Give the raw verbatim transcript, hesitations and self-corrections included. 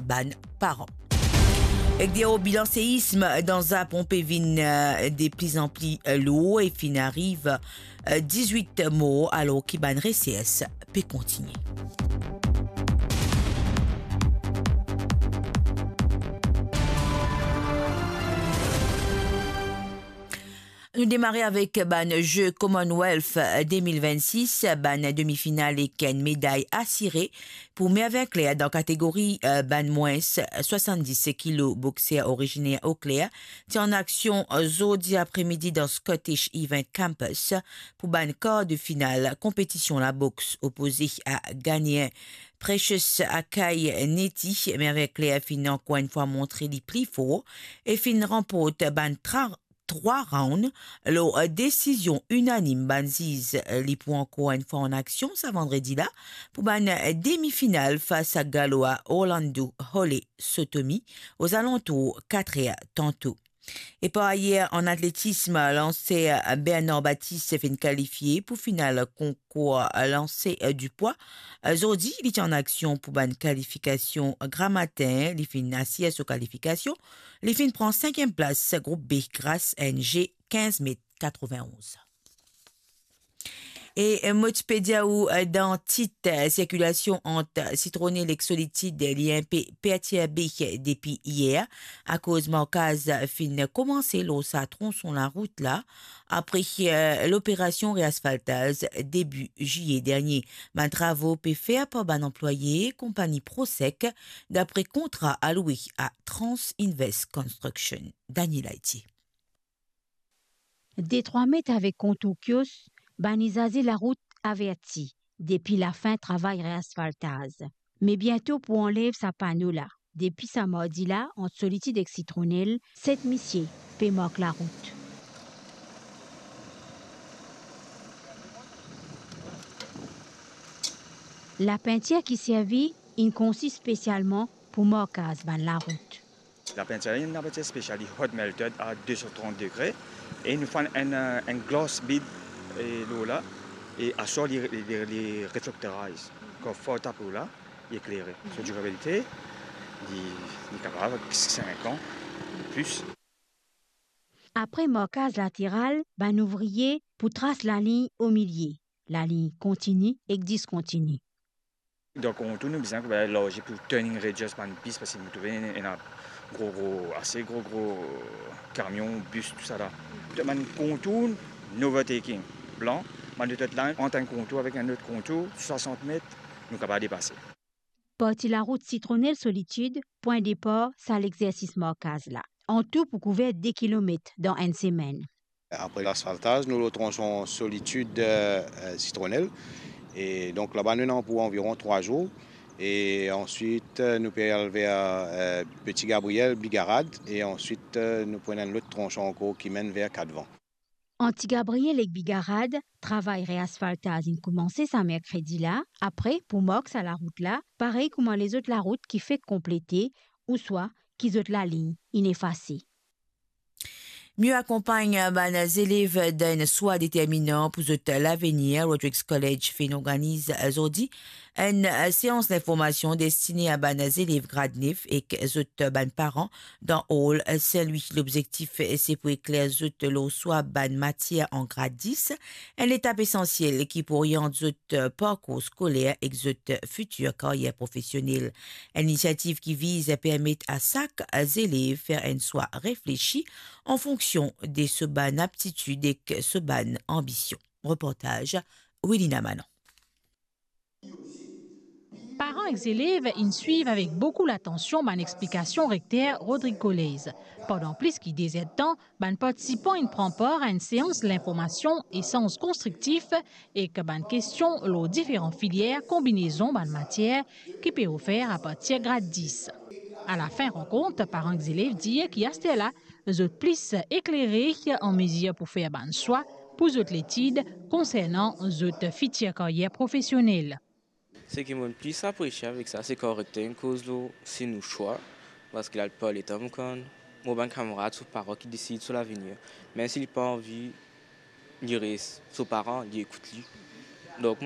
bann paran. Ek deror bilan seism dan Zapon pe vinn, eh, de pli an pli, eh, lour e finn ariv, eh, dizwit mor, alor ki bann resers pe kontigne. Nou demare avek bann Ze Commonwealth de mil vennsis, bann demi-final ek enn meday asire pou Mervin Claire dan kategori, eh, bann mwins swasanndis kilo. Bokser originer Eau Claire ti an aksion, eh, zordi apremidi dan Scottish Event Campus pou bann kar de final konpetision laboks opoze a Ghanien Precious Akai Neti. Mervin Claire finn ankor enn fwa montre li pli for e finn ranport bann tra-, trwa round lor desizion inanim bann ziz. Li pou ankor enn fwa an aksion sa vandredi la pou bann demi-final fas a Galo Orlando Hole Sotomi ozalantour kat er tanto. E par ayer, an atletism, lanser Bernard Baptiste finn kalifie pou final konkour lanse di pwa. Zordi, li ti an aksion pou bann kalifikasion gramatin, li finn asir so kalifikasion, li finn pran sinkiem plas group B gras enn G kinz met katreven-onz. E, eh, mo ti pe dir ou, eh, dan tit, eh, sirkilasion ant Citronelle ek Solitude, eh, li inpe pertirbe, eh, depi yer, akoz markaz finn koumanse lor sa tronson larout la, apre, eh, loperasion reasfaltaz debi ziye dernie. Bann travo pe fer par bann anplwaye konpagni Prosec, dapre kontra aloue a Trans Invest Construction. Daniel Aiti. Detrwa met avek kontour kios, bann izaze larout averti depi lafin travay reasfaltaz. Me biento pou anlev sa pano la. Depi sa mardi la, ant Solitude ek Citronelle, set misie pe mark larout. Lapintir ki servi inn konsi spesialman pou markaz bann larout. Lapintir la, ena lapintir spesial, li hot melted a de san trant degre, e nou fer enn, enn, enn glass bead, e, lor la, e aswar li, li, li reflectorize. Kan fer tapo la, li eklere. So, dirabilite, li, li kapav sink an, plis. Apre markaz lateral, bann ouvrie pou tras lalign omilie. Lalign kontini ek diskontini. Dan kontour, nou bizin koup larzi pou turning radius bann bis, parski nou trouve ena gro, gro, ase gro, gro kamion, bis, tousala. Bann kontour, no overtaking, blan, bann lot la, ant enn kontour avek enn lot kontour, swasant met, nou kapav depase. Parti larout Citronelle Solitude, pwin depar sa lexersis markaz la. Antou pou kouver de kilomet dan enn semenn. Apre lasfaltaz, nou lor tronson Solitude, eh, eh, Citronelle. E donk, laba nou ena pou anviron trwa zour. E answit, eh, nou pe al ver, eh, Petit Gabriel, Bigarad. E answit, eh, nou pran enn lot tronson ankor ki menn ver Kadvan. Ant Ti Gabriel ek Bigarad, travay reasfaltaz inn koumanse sa merkredi la. Apre, pou mark sa larout la, parey kouma lezot larout ki fek konplete, ouswa ki zot lalign inn efase. Mie akonpagn bann zelev dan enn swa determinan pou zot lavenir, Rodrigues College finn organiz zordi enn seans linformasion destine a bann zelev grad nef ek zot bann paran dan Hall Saint-Louis. Lobzektif se pou ekler zot lor swa bann matier an grad dis, enn letap esansiel ki pou oriant zot parkour skoler ek zot fitir karyer profesionel. Enn inisiativ ki viz permet a sak zelev fer enn swa reflesi an fonksion de so bann aptitid ek so bann anbision. Reportaz Wilina Manon. Paran ek zelev inn swiv avek boukou latansion bann explikasion rekter Rodrigues College. Pandan plis ki de zerdtan, bann partisipan inn pran par a enn seans linformasion, esanz konstriktif ek bann kestion lor diferan filier, konbinezon bann matier ki pe ofer apartir grad dis. Alafin rankont, paran ek zelev dir ki asterla, zot plis eklere an mezir pou fer bann swa pou zot letid konsernan zot fitir karyer profesionel. Seki mo plis apresie avek sa, se kan rekter inn koz lor si nou swa, parski laplipar letan mo konn mo bann kamarad, so paran ki desid so lavenir. Mem si li pa anvi, li res, so paran, li ekout li. Donk,